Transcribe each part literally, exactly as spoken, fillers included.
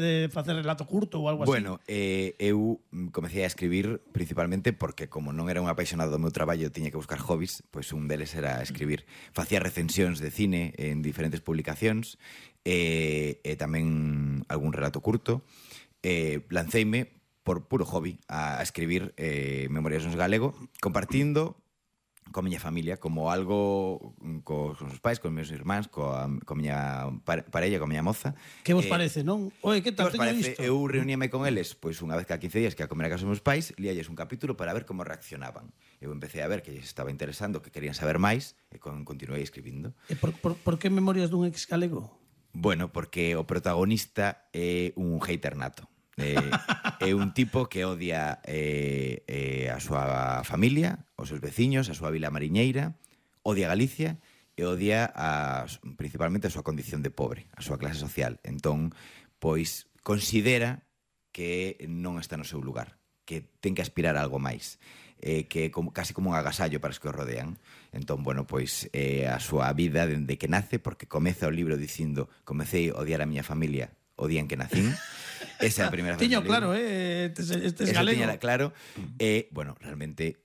de facer relato curto ou algo así? Bueno, eh, eu comecei a escribir principalmente porque como non era un apaixonado do meu traballo, tiña que buscar hobbies, pois un deles era escribir. Facía recensións de cine en diferentes publicacións e, e tamén algún relato curto. Eh, lanceime por puro hobby a escribir eh, memorias en galego, compartindo coa miña familia, como algo cos, cos meus pais, cos meus irmáns, coa, coa miña parella, coa miña moza. Que vos eh, parece, non? Oye, que tal, que vos teño parece? isto? Eu reuníame con eles pois unha vez cada quince días que a comer a casa dos meus pais, líalles un capítulo para ver como reaccionaban. Eu empecé a ver que lles estaba interesando, que querían saber máis, e con, continuei escribindo. E por, por, por que Memorias dun ex galego? Bueno, porque o protagonista é un hater nato. Eh, é un tipo que odia eh, eh, a súa familia, os seus veciños, a súa vila mariñeira, odia Galicia e odia a, principalmente a súa condición de pobre, a súa clase social. Entón, pois, considera que non está no seu lugar, que ten que aspirar a algo máis, eh, que é como, casi como un agasallo para os que o rodean. Entón, bueno, pois eh, a súa vida dende que nace, porque comeza o libro dicindo comecei a odiar a miña familia o día en que nacín. Esa é a primeira frase. Tiño claro, eh, este, este es Eso galego. tiña claro. E, bueno, realmente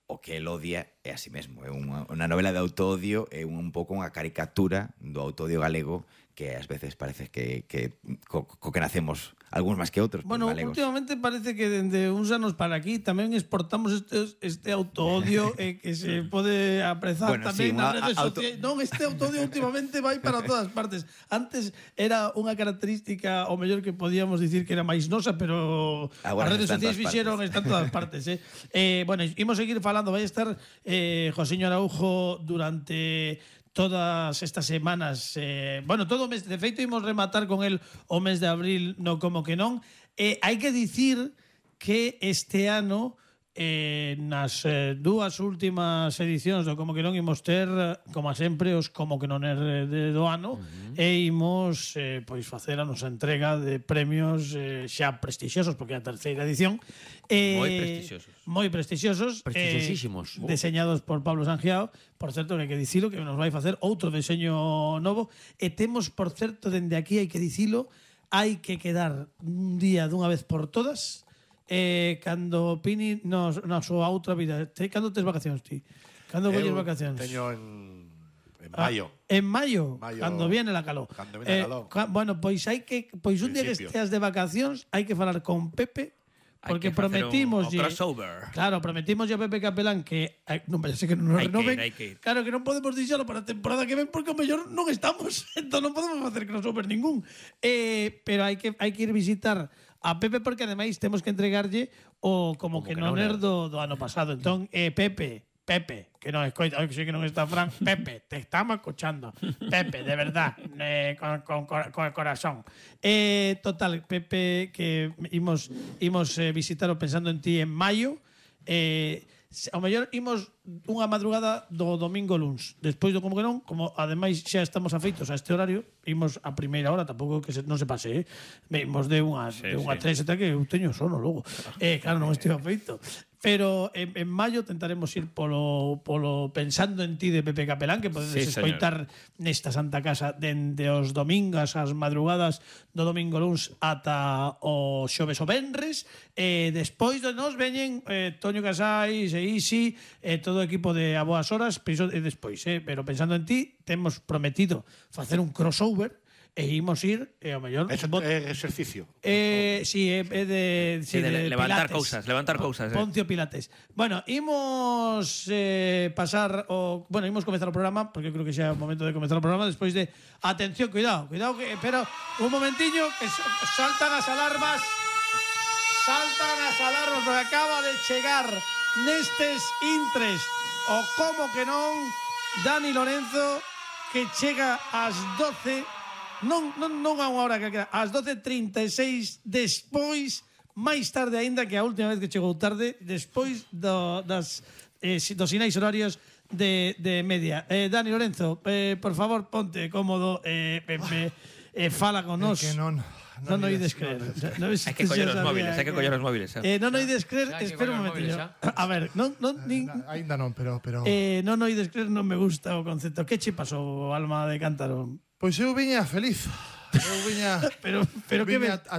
o que el odia é a sí mesmo. É unha, unha novela de autoodio, é un, un pouco unha caricatura do autoodio galego que ás veces parece que, que co, co que nacemos algúns máis que outros. Bueno, galegos. últimamente parece que dende uns anos para aquí tamén exportamos este, este autoodio eh, que se pode aprezar Bueno, tamén sí, nas unha redes auto... sociais. Non, este autoodio últimamente vai para todas partes. Antes era unha característica, o mellor que podíamos dicir que era máis nosa, pero Agora as redes sociais fixeron, partes. están todas partes. Eh. Eh, bueno, imos seguir falando, vai estar eh, Josiño Araujo durante todas estas semanas, eh, bueno, todo o mes, de feito imos rematar con el o mes de abril no Como que non. Eh, hai que dicir que este ano eh, nas eh, dúas últimas edicións do Como que non imos ter, como sempre, os Como que non er de, do ano, uh-huh. e imos eh, pois facer a nosa entrega de premios eh, xa prestixiosos, porque é a terceira edición. Eh, moi prestixiosos. Moi prestixiosos. Prestixiosísimos. Eh, deseñados por Pablo Sangiao. Por certo, que hai que dicilo, que nos vai facer outro deseño novo. E temos, por certo, dende aquí hai que dicilo, hai que quedar un día dunha vez por todas eh, cando Pini nos, na súa outra vida. Te, cando tes vacacións, ti? Cando colles vacacións? Teño en, en maio. Ah, en maio, maio, cando viene la calor. Cando viene eh, la calor. Ca, bueno, pois hai que pois un día que esteas de vacacións, hai que falar con Pepe. Porque prometimos un, un crossover. Claro, prometimos a Pepe Capelán que ay, non vaya a ser que non nos renoven. Claro que non podemos dixalo para a temporada que ven porque o mellor non estamos, entón non podemos facer crossover ningún. Eh, pero hai que hai que ir visitar a Pepe porque ademais temos que entregarlle o como, como que, que non er do, do ano pasado. Entón, eh, Pepe, Pepe, que non escoita, que sei que non está Fran, Pepe, te estamos escuchando. Pepe, de verdad, eh, con, con, con el corazón. Eh, total, Pepe, que imos, imos eh, visitarlo pensando en ti en maio. Eh, ao mellor imos unha madrugada do domingo luns. Despois do Como que non, como ademais xa estamos afeitos a este horario, imos a primeira hora, tampouco que se, non se pase, eh? Imos de unha, sí, de unha sí. tres, eta que eu teño sono logo. Eh, claro, non estou afeito. Pero en, en maio tentaremos ir polo, polo Pensando en ti de Pepe Capelán, que podedes sí, escoitar nesta Santa Casa dende os domingos ás madrugadas do domingo luns ata o xoves o venres. E despois de nos veñen eh, Toño Casais e Isi e todo o equipo de A Boas Horas, e despois, eh, pero Pensando en ti temos prometido facer un crossover e imos ir, e ao mellor... É exercicio. Eh, si, é eh, de, sí, de, de levantar pilates. cousas, levantar cousas. Eh. Poncio Pilates. Bueno, imos eh, pasar o... Bueno, imos comezar o programa, porque creo que xa é o momento de comezar o programa, despois de... Atención, cuidado, cuidado, que pero un momentiño, que saltan as alarmas, saltan as alarmas, porque acaba de chegar nestes intres o Como que non, Dani Lorenzo, que chega ás doce... Non, non, non a unha hora que queda, ás doce e trinta e seis, despois, máis tarde aínda que a última vez que chegou tarde, despois do, das, eh, dos sinais horarios de, de media. Eh, Dani Lorenzo, eh, por favor, ponte cómodo, eh, me, me, eh, fala con nos. É que non... Non no ides creer. Hai que coller os móviles, hai que coller os móviles. Eh, non no ides creer, espera un momentillo. A ver, non non nin aínda non, pero pero Eh, non no ides creer, non me gusta o concepto. Que che pasou, alma de cántaro? Pois eu viña feliz. Eu viña, Pero, pero que viña ves? a